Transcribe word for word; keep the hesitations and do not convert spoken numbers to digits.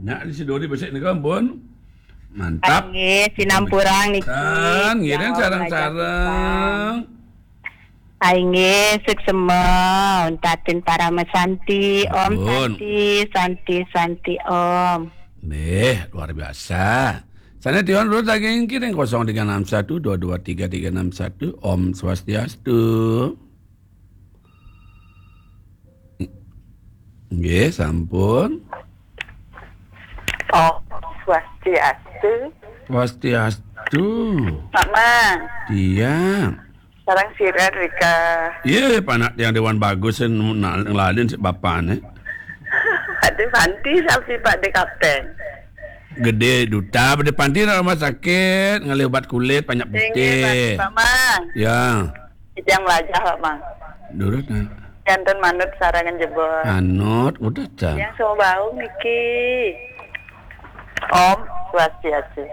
Nyak di Sidori besik nika, ampun. Mantap. Nggih, sinampurang niki. Kan, ngiring sareng-sareng. Ai nggih, suksema, untatin parama santi, Om. Ampun. Santi, santi, santi, Om. Nggih, luar biasa. Sané tiwan dulu daging kiring kosong tiga enam satu dua dua tiga tiga enam satu. Om Swastiastu. Nggih, sampun. Om Swastiastu. Swastiastu. Mak Mang. Iya. Sareng sira, Rika. Iya, panak tiang Dewan Bagus sing nal-, ngelalin si bapakné. Pak De Panti, sapi Pak De Kapten. Gedé duta, Pak De Panti nang rumah sakit, ngalih obat kulit, banyak putih. Inggih, Pak Mang. Ya. Tiang melajah, Pak Mang. Durus, nah. Janten manut sareng jebos. Anut, udah, Cang. Tiang Sumbawa Baung niki. Om Swastiastu.